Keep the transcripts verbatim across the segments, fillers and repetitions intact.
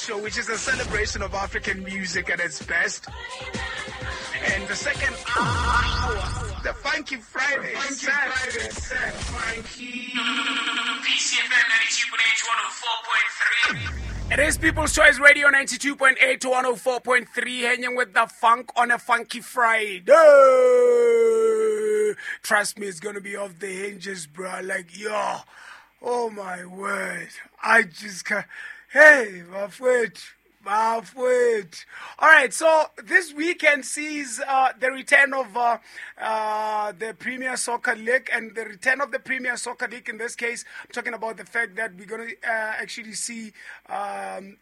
Show, which is a celebration of African music at its best. And the second hour, the Funky Friday, the Funky Friday set. Funky. P C F M ninety-two point eight, one oh four point three. It is People's Choice Radio ninety-two point eight to one oh four point three, hanging with the funk on a Funky Friday. Trust me, it's gonna be off the hinges, bro. Like, yo, oh my word. I just can't. Hey, my foot. My foot. All right, so this weekend sees uh, the return of uh, uh, the Premier Soccer League, and the return of the Premier Soccer League in this case, I'm talking about the fact that we're gonna uh, actually see um,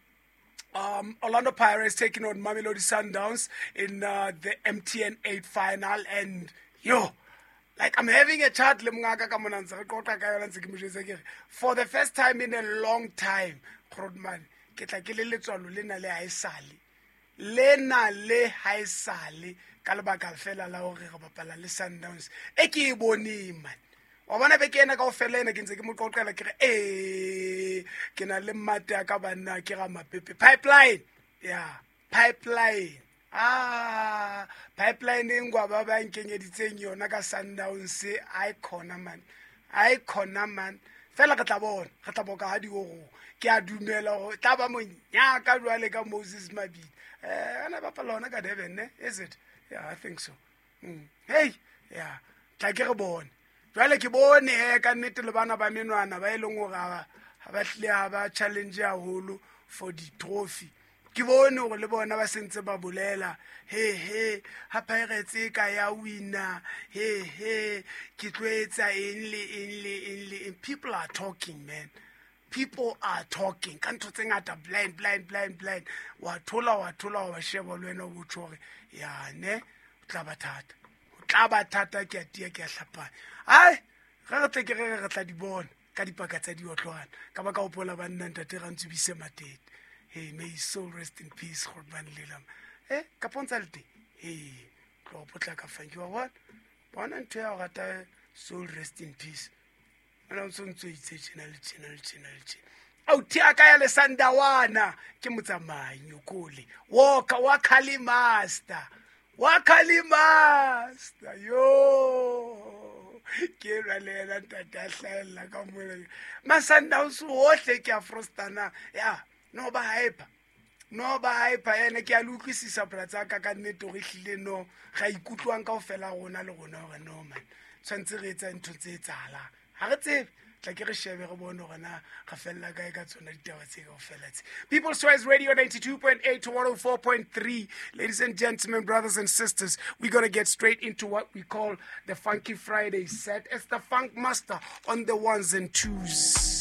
um, Orlando Pirates taking on Mamelodi Sundowns in uh, the M T N eight final, and yo, like I'm having a chat le mongaka ka mona ntse re qoqa ka yona ntse ke mo jwetsa ke re, for the first time in a long time, Grootman, ke tla ke le letswalo lena le haesale. Lena le haesale ka lebaka fela la hore re bapala le Sundowns. E ke e boneng, man. Wa bona beke ena kaofela ena ke ntse ke mo qoqela ke re, eh, ke na le mmate ya ka banna ke ra mapepe. Pipeline. Yeah, pipeline. Ah, pipeline e ngwa ba ba nkenyeditseng yona ka Sundowns, ai khona man. Ai khona man. Fela re tla bona, re tla boka ha di go. Ke a dumela hore tla ba monyaka jwale ka Moses Mabhida. Eh, ana bapala hona ka Durban, ne? Is it? Yeah, I think so. Mm. Hey, yeah. Tla ke re bone. Jwale ke bone he ka nnete le bana ba menwana ba e leng hore ha ba, ha ba hlile ha ba challenge haholo for di trophy. Ke bone hore le bona ba sentse ba bolela, he he, ha Pirates e ka ya wina, he he, ke tlo etsa eng le eng le eng le eng. People are talking, man. People are talking. Ka ntho tse ngata, blind, blind, blind, blind. Wa thola, wa thola, wa sheba le wena o botho hore, ya ne, o tla ba thata. O tla ba thata, ke a tia, ke a hlapanya. Ai, re re tle ke re re tla di bona ka dipaka tsa diotlwana. Ka ba ka hopola banna ntate Rantsubise Matete. Hey, may his soul rest in peace, Grootman Lelam. Eh, ka pontsa le teng? Hey, tlo potlaka funky wa bona. Bona ntho ya ho rata soul rest in peace. Ona o ntso ntso itse tjena le tjena le tjena le tjena. Au thea ka ya le Sandawana ke motsamai nyokole. Walker wa Kali Master. Wa Kali Master. Yo. Ke ra le yena ntate a hlahella ka mona. Masundowns ohle ke a frostana. Ya, no ba hyper. No ba hyper ene ke a le utlwisisa bra tsa ka ka nnete hore ehlile no ga ikutlwang kaofela rona le rona hore no man. Tshwantse re etsa ntho tse etsahalang. Ha re tsebe, tla ke re shebe re bone hore na re fella kae ka tsona ditaba tse kaofela tse. People's Choice Radio ninety-two point eight to one oh four point three. Ladies and gentlemen, brothers and sisters, we're gonna get straight into what we call the Funky Friday set. It's the Funk Master on the ones and twos.